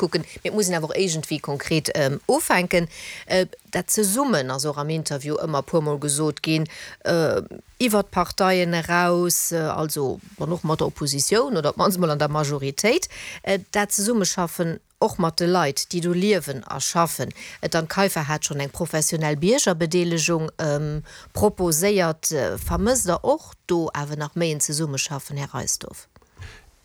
kucken, mee et muss een awer och iergendwéi konkret ufänken. Dat Zesummen ass och am Interview ëmmer e puermol gesot ginn, iwwert d'Parteien eraus, also dann och mat der Oppositioun oder op d'mannst emol an der Majoritéit, dat Zesummeschaffen och mat de Leit, déi do liewen a schaffen. D'Anne Kaiffer hat schonn eng professionell Biergerbedeelegung proposéiert. Vermësst Der och do awer nach méi en Zesummeschaffen, Här Reisdorf?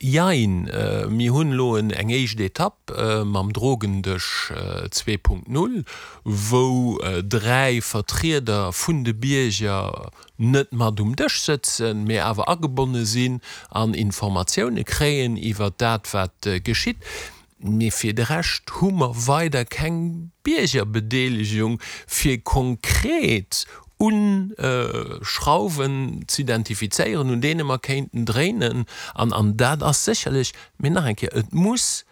Jein, mir hunn elo eng éischt Etapp mam Drogendësch 2.0, wou 3 Vertrieder vun de Bierger net mat um Dësch sëtzen, mee awer agebonne sinn an Informatioune kréien iwwert dat, wat geschitt. Mee fir de Rescht hu mer weider keng Biergerbedeelegung, fir konkret u Schrauwen z'identifizéieren, un deene mer kéinten dréinen. An an dat ass sécherlech, mee nach eng Kéier, et muss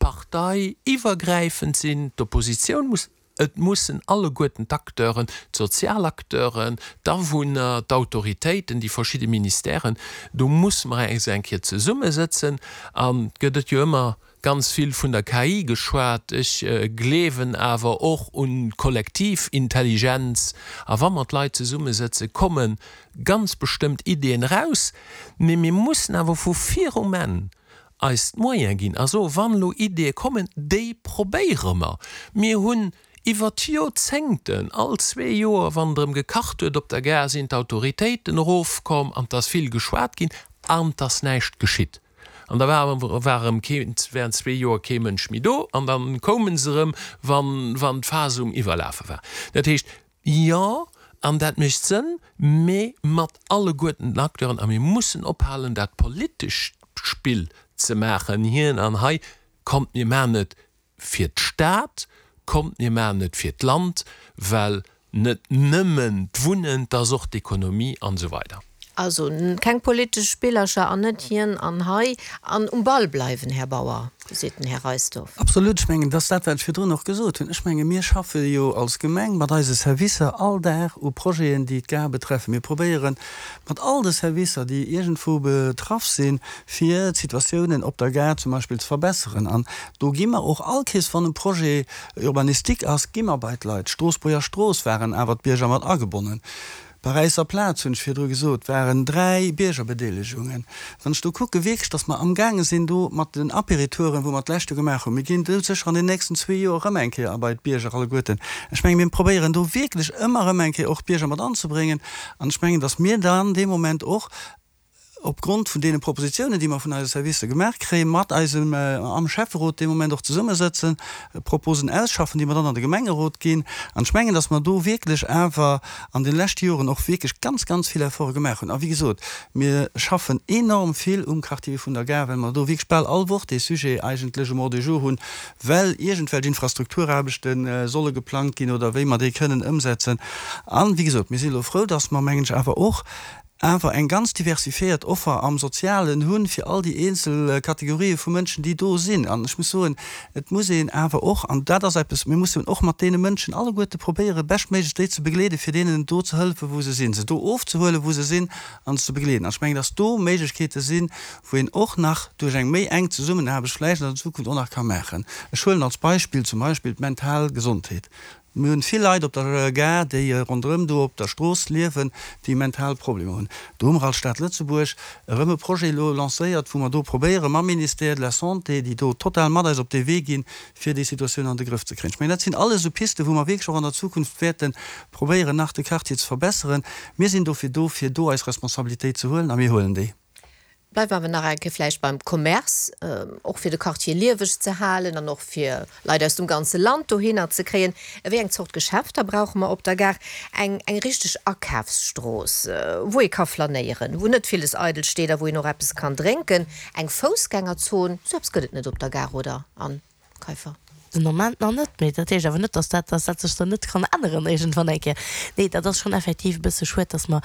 parteiiwwergräifend sinn, d'Oppositioun muss, et mussen alleguerten d'Acteuren, d'sozial Acteuren, d'Awunner, d'Autoritéiten, déi verschidde Ministèren, do musse mer eis eng Kéier zesummesëtzen. An et gëtt et jo ëmmer ganz vill vun der KI geschwat, ech gleewen awer och un d'kollektiv Intelligenz. A wa mer d'Leit zesummesëtzen, komme ganz bestëmmt Ideeën eraus. Mee mir mussen awer vu virum Enn eis d'Moyen ginn a soen, wann elo Ideeë kommen, déi probéiere mer. Mir hunn iwwer d'Joerzéngten, all zwee Joer, wann erëm gekacht huet op der Gare, sinn d'Autoritéiten erofkomm an 't ass vill geschwat ginn an 't ass näischt geschitt. An da war war erëm keen, während zwee Joer kee Mënsch méi do an da koume se erëm, wann wann d'Phas um Iwwerlafe war. Dat heescht, jo, an dat mécht Sënn, mee mat alleguerten den Acteuren. A mir mussen ophalen, dat politescht Spill ze maachen, hien an hei. Kommt, mir maachen et fir d'Stad, kommt, mir maachen et fir d'Land, well net nëmmen d'Wunnen, 't ass och d'Ekonomie an esou weider. Also keng politesch Spillercher an net hien an hei an um Ball bleiwen, Här Bauer, seet den Här Reisdorf. Absolut, ech mengen, dat ass dat, wat ech virdrun och gesot hunn. Ech menge mir schaffe jo als Gemeng mat eise Servicer all Dag u Projeten, déi d'Gare betreffen. Mir probéiere mat all de Servicer, déi iergendwou betraff sinn, fir d'Situatiounen op der Gare zum Beispill ze verbesseren. An do gi mer och all Kees, wann e Projet urbanistique ass, gi mer bei d'Leit. D'Stroossbuerger Strooss waren awer d'Bierger mat agebonnen. Paräisser Plaz, hunn ech virdru gesot, waren 3 Biergerbedeelegungen. Wann ech do kucke wierklech, datt mer amgaange sinn do mat den Apéritouren, wou mer d'lescht Joer gemaach hunn, mir ginn do sécher an den nächsten zwee Joer erëm eng Kéier a bei d'Bierger alleguerten. Ech menge mir probéieren do wierklech ëmmer erëm eng Kéier och d'Bierger mat anzebréngen an ech mengen, datt mir dann dee Moment och, opgrond vun deene Propositionen, déi mer vun eise Servicer gemaach kréien, mat eisem am Schäfferot dee Moment och zesummesëtzen, Proposen ausschaffen, déi mer dann an de Gemengerot ginn. An ech mengen, dass mer do wierklech awer an de leschte Joren och wierklech ganz, ganz vill Efforte gemaach hunn. A wéi gesot, mir schaffen enorm vill um Quartier vun der Gare, well mer do wierklech bal all Woch dee Sujet eigentlech um Ordre du jour hunn, well iergendwelch Infrastrukturaarbechte solle geplangt ginn oder wéi mer déi kënnen ëmsetzen. An, wéi gesot, mir si elo frou, dass mer, mengen ech, awer och awer eng ganz diversifiéiert Offer am Sozialen hunn, fir all déi eenzel Kategorië vu Mënschen, déi do sinn. An ech muss soen, et muss een awer och, an dat ass eppes, mir mussen och mat deene Mënschen alleguerte probéieren, beschtméiglechst déi ze begleeden, fir deenen do ze hëllefen, wou se sinn, se do ofzehuelen, wou se sinn, an se ze begleeden. An ech mengen, dass do Méiglechkeete sinn, wou een och nach duerch eng méi enk Zesummenaarbecht vläicht an der Zukunft och nach ka maachen. Ech huelen als Beispill zum Beispill d'mental Gesondheet. Mir hunn vill Leit op der Gare, déi ronderëm do op der Strooss liewen, déi mental Problemer hunn. Do hu mer als Stad Lëtzebuerg erëm e Projet elo lancéiert, wou mer do probéiere mam Ministère de la Santé, déi do total mat eis op dee Wee ginn, fir déi Situatioun an de Grëff ze kréien. Ech mengen, dat sinn alles esou Pisten, wou mer wierklech och an der Zukunft wäerte probéieren, nach de Quartier ze verbesseren. Mir sinn dofir do, fir do eis Responsabilitéit ze huelen, a mir huelen déi. Bleiwe mer awer nach eng Kéier vläicht beim Commerce, och fir de Quartier lieweg ze halen an och fir Leit aus dem ganze Land dohinner ze kréien. Wéi eng Zort Geschäfter brauche mer op der Gare? Eng, eng richteg Akafsstrooss, wou ee ka flanéieren, wou net villes eidel steet a wou een och eppes kann drénken. Eng Foussgängerzon, sou eppes gëtt et net op der Gare, oder, Anne Kaiffer? Den Moment nach net, mee dat heescht awer net, dass dat, dass dat sech dann net kann änneren iergendwann eng Kéier. Nee, dat ass schonn effektiv e bësse schued, dass mer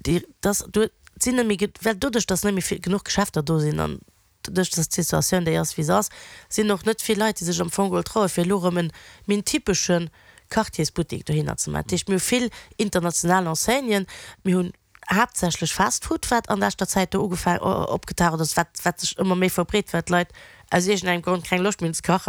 Déi, dass do, et sinn net méi, well doduerch, dass net méi vill, genuch Geschäfter do sinn an doduerch, dass d'Situatioun déi ass, wéi se ass, sinn och net vill Leit, déi sech am Fong geholl trauen, fir elo erëm en méi en typesche Quartiersbuttek dohinner ze maachen. Dat heescht, mir hu vill international Enseignen, mir hunn haaptsächlech Fast-Food, wat an leschter Zäit do ugefaang, opgetaucht ass, wat, wat sech ëmmer méi verbreet, well d'Leit aus iergendengem Grond keng Loscht méi hunn ze kachen.